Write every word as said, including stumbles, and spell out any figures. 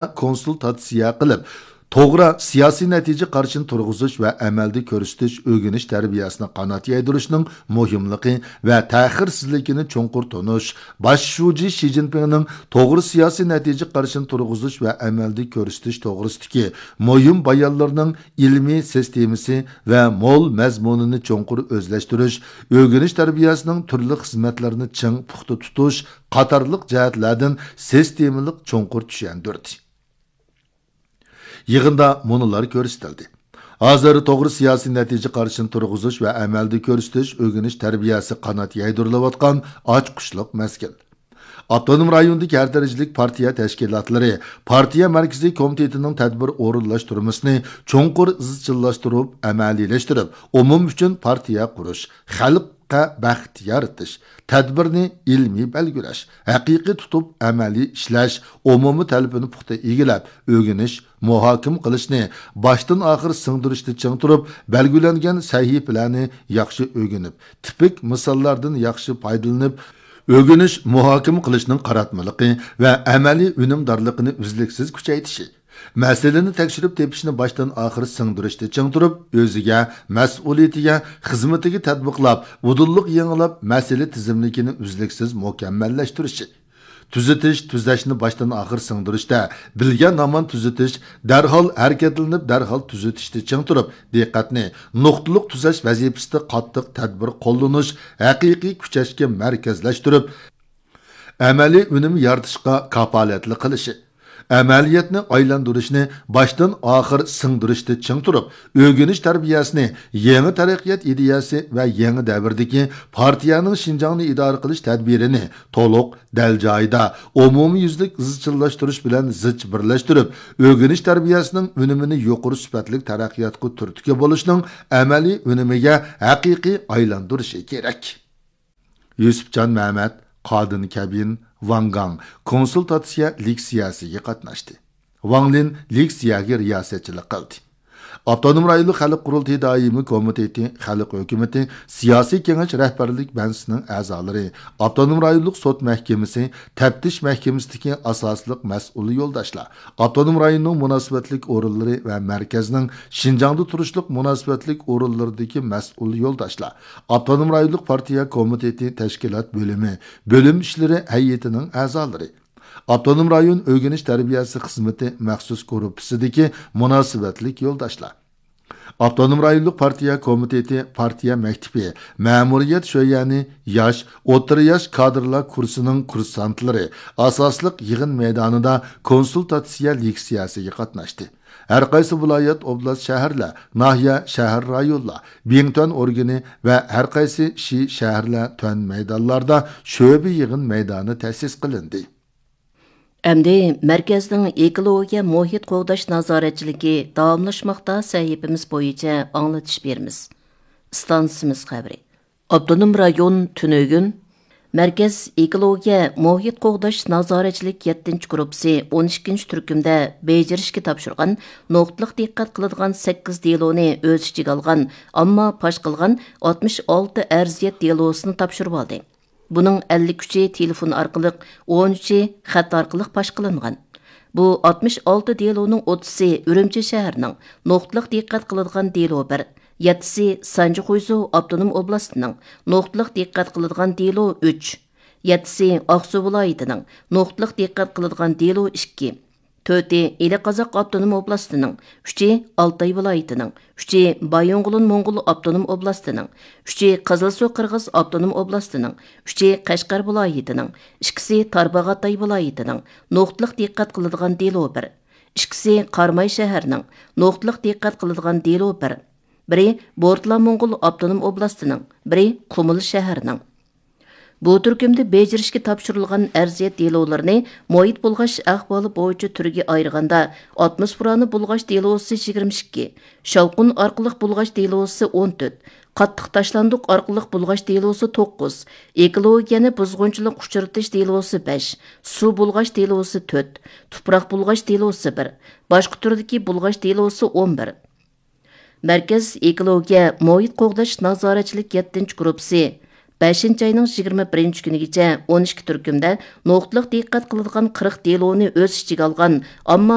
كونسۇلتاتسىيە قىلىپ، توغرا سىياسىي نەتىجە قارىشىنى تۇرغۇزۇش ۋە ئەمەلدە كۆرسىتىش ئۆگىنىش تەربىيەسىنى قانات يايدۇرۇشنىڭ مۇھىملىقى ۋە تەخىرسىزلىكىنى چوڭقۇر تونۇش، باش شۇجى شى جىنپىڭنىڭ توغرا سىياسىي نەتىجە قارىشىنى تۇرغۇزۇش ۋە ئەمەلدە كۆرسىتىش توغرىسىدىكى مۇھىم بايانلىرىنىڭ ئىلمىي سىستېمىسى ۋە مول مەزمۇنىنى چوڭقۇر ئۆزلەشتۈرۈش، ئۆگىنىش تەربىيەسىنىڭ تۈرلۈك خىزمەتلىرىنى چىڭ پۇختا تۇتۇش قاتارلىق جەھەتلەردىن سىستېمىلىق چوڭقۇر چۈشەندۈردى. يىغىندا مۇنۇلار كۆرسىتىلدى. ھازىر توغرا سىياسىي نەتىجە قارىشىنى تۇرغۇزۇش ۋە ئەمەلدە كۆرسىتىش ئۆگىنىش تەربىيەسى قانات يايدۇرۇلۇۋاتقان ئاچقۇچلۇق مەزگىل. ئاپتونوم رايوندىكى ھەر دەرىجىلىك پارتىيە تەشكىلاتلىرى، پارتىيە مەركىزىي كومىتېتىنىڭ تەدبىر ئورۇنلاشتۇرمىسىنى چوڭقۇر ئىزچىللاشتۇرۇپ ئەمەلىيلەشتۈرۈپ، ئومۇم ئۈچۈن پارتىيە قۇرۇش، خەلققە بەخت يارىتىش، تەدبىرنى ئىلمىي بەلگىلەش، ھەقىقىي تۇتۇپ ئەمەلىي ئىشلەش، ئومۇمىي تەلىپىنى پۇختا ئىگىلەپ، ئۆگىنىش، مۇھاكىمە قىلىشنى باشتىن ئاخىر سىڭدۈرۈشتە چىڭ تۇرۇپ، بەلگىلەنگەن سەھىپىلەرنى ياخشى ئۆگىنىپ، تىپىك مىساللاردىن ياخشى پايدىلىنىپ، ئۆگىنىش، مۇھاكىمە قىلىشنىڭ قاراتمىلىقى ۋە ئەمەلىي ئۈنۈمدارلىقىنى ئۈزلۈكسىز كۈچەيتىشى، مەسىلىنى تەكشۈرۈپ تېپىشنى باشتىن ئاخىر سىڭدۈرۈشتە چىڭ تۇرۇپ، ئۆزىگە، مەسئۇلىيىتىگە، خىزمىتىگە تەتبىقلاپ، ئۇدۇللۇق يېڭىلاپ، مەسىلە تىزىملىكىنى ئۈزلۈكسىز مۇكەممەللەشتۈرۈشى. تۈزىتىش، تۈزەشنى باشتىن ئاخىر سىڭدۈرۈشتە، بىلگەن ھامان تۈزىتىش، دەرھال ھەرىكەتلىنىپ، دەرھال تۈزىتىشتە چىڭ تۇرۇپ، دىققەتنى نۇقتىلىق تۈزەش ۋەزىپىسىدە قاتتىق تەدبىر قوللىنىش، ھەقىقىي كۈچەشكە مەركەزلەشتۈرۈپ، ئەمەلىي ئۈنۈم يارىتىشقا كاپالەتلىك قىلىشى، ئەمەلىيەتنى ئايلاندۇرۇشنى باشتىن ئاخىر سىڭدۈرۈشتە چىڭ تۇرۇپ، ئۆگىنىش تەربىيەسىنى يېڭى تەرەققىيات ئىدىيەسى ۋە يېڭى دەۋردىكى پارتىيەنىڭ شىنجاڭنى ئىدارە قىلىش تەدبىرىنى تولۇق، دەل جايىدا، ئومۇميۈزلۈك ئىزچىللاشتۇرۇش بىلەن زىچ بىرلەشتۈرۈپ، ئۆگىنىش تەربىيەسىنىڭ ئۈنۈمىنى يۇقىرى سۈپەتلىك تەرەققىياتقا تۈرتكە بولۇشنىڭ ئەمەلىي ئۈنۈمىگە ھەقىقىي ئايلاندۇرۇشى كېرەك. يۈسۈپجان مەمەت، قادىن كەبىن، ۋاڭ گاڭ كونسۇلتاتسىيە لېكسىيەسىگە قاتناشتى. ۋاڭ لىن لېكسىيەگە رىياسەتچىلىك قىلدى. ئاپتونوم رايونلۇق خەلق قۇرۇلتىيى دائىمىي كومىتېتى، خەلق ھۆكۈمىتى، سىياسىي كېڭەش رەھبەرلىك بەنسىسىنىڭ ئەزالىرى، ئاپتونوم رايونلۇق سوت مەھكىمىسى، تەپتىش مەھكىمىسىدىكى ئاساسلىق مەسئۇل يولداشلار، ئاپتونوم رايوننىڭ مۇناسىۋەتلىك ئورۇنلىرى ۋە مەركەزنىڭ شىنجاڭدا تۇرۇشلۇق مۇناسىۋەتلىك ئورۇنلىرىدىكى مەسئۇل يولداشلار، ئاپتونوم رايونلۇق پارتىيە كومىتېتى تەشكىلات بۆلۈمى، بۆلۈم ئىشلىرى ھەيئىتىنىڭ ئەزالىرى، ئاپتونوم رايون ئۆگىنىش تەربىيەسى خىزمىتى مەخسۇس گۇرۇپپىسىدىكى مۇناسىۋەتلىك يولداشلار، ئاپتونوم رايونلۇق پارتىيە كومىتېتى پارتىيە مەكتىپى، مەمۇرىيەت شۆيەنى، ياش، ئوتتۇرا ياش كادىرلار كۇرسىنىڭ كۇرسانتلىرى ئاساسلىق يىغىن مەيدانىدا كونسۇلتاتسىيە لېكسىيەسىگە قاتناشتى. ھەرقايسى ۋىلايەت، ئوبلاست، شەھەرلەر، ناھىيە، شەھەر، رايونلار، بىڭتۈەن ئورگىنى ۋە ھەرقايسى شى، شەھەرلەر، تۈەن مەيدانلاردا شۆبە يىغىن مەيدانى تەسىس قىلىندى. ئەمدى مەركەزنىڭ ئېكولوگىيە مۇھىت قوغداش نازارەتچىلىكى داۋاملاشماقتا سەھىپىمىز بويىچە ئاڭلىتىش بېرىمىز. ئىستانسىمىز خەۋىرى. ئاپتونوم رايون تۈنۈگۈن مەركەز ئېكولوگىيە مۇھىت قوغداش نازارەتچىلىك يەتتىنچى گۇرۇپپىسى ئون ئىككىنچى تۈركۈمدە بېجىرىشكە تاپشۇرغان نۇقتىلىق دىققەت قىلىدىغان سەككىز دېلونى ئۆز ئىچىگە ئالغان، ئامما پاش قىلغان ئاتمىش ئالتە ئەرزىيەت دېلوسىنى تاپشۇرۇۋالدى. بۇنىڭ ئەللىك ئۈچى تېلېفون ئارقىلىق، ئون ئۈچى خەت ئارقىلىق پاش قىلىنغان. بۇ ئاتمىش ئالتە دېلونىڭ ئوتتۇزى ئۈرۈمچى شەھىرىنىڭ نۇقتىلىق دىققەت قىلىدىغان دېلو بىر، يەتتىسى سانجى خۇيزۇ ئاپتونوم ئوبلاستىنىڭ نۇقتىلىق دىققەت قىلىدىغان دېلو ئۈچ، يەتتىسى ئاقسۇ ۋىلايىتىنىڭ نۇقتىلىق دىققەت قىلىدىغان دېلو ئىككى، تۆتى ئىلى قازاق ئاپتونوم ئوبلاستىنىڭ، ئۈچى ئالتاي ۋىلايىتىنىڭ، ئۈچى بايىنغولىن موڭغۇل ئاپتونوم ئوبلاستىنىڭ، ئۈچى قىزىلسۇ قىرغىز ئاپتونوم ئوبلاستىنىڭ، ئۈچى قەشقەر ۋىلايىتىنىڭ، ئىككىسى تارباغاتاي ۋىلايىتىنىڭ نۇقتىلىق دىققەت قىلىدىغان دېلو بىر، ئىككىسى قاراماي شەھىرىنىڭ نۇقتىلىق دىققەت قىلىدىغان دېلو بىر، بىرى بورتالا موڭغۇل ئاپتونوم ئوبلاستىنىڭ، بىرى قۇمۇل شەھىرىنىڭ. بۇ تۈركۈمدە بېجىرىشكە تاپشۇرۇلغان ئەرزىيەت دېلولىرىنى مۇھىت بۇلغاش ئەھۋالى بويىچە تۈرگە ئايرىغاندا، ئاتموسفېرانى بۇلغاش دېلوسى يىگىرمە ئىككى، شاۋقۇن ئارقىلىق بۇلغاش دېلوسى ئون تۆت، قاتتىق تاشلاندۇق ئارقىلىق بۇلغاش دېلوسى توققۇز، ئېكولوگىيەنى بۇزغۇنچىلىققا ئۇچرىتىش دېلوسى بەش، سۇ بۇلغاش دېلوسى تۆت، تۇپراق بۇلغاش دېلوسى بىر، باشقا تۈردىكى بۇلغاش دېلوسى ئون بىر. مەركەز ئېكولوگىيە مۇھىت قوغداش نازارەتچىلىك يەتتىنچى گۇرۇپپىسى بەشىنچى ئاينىڭ يىگىرمە بىرىنچى كۈنىگىچە ئون ئىككى تۈركۈمدە نۇقتىلىق دىققەت قىلىدىغان قىرىق دېلونى ئۆز ئىچىگە ئالغان ئامما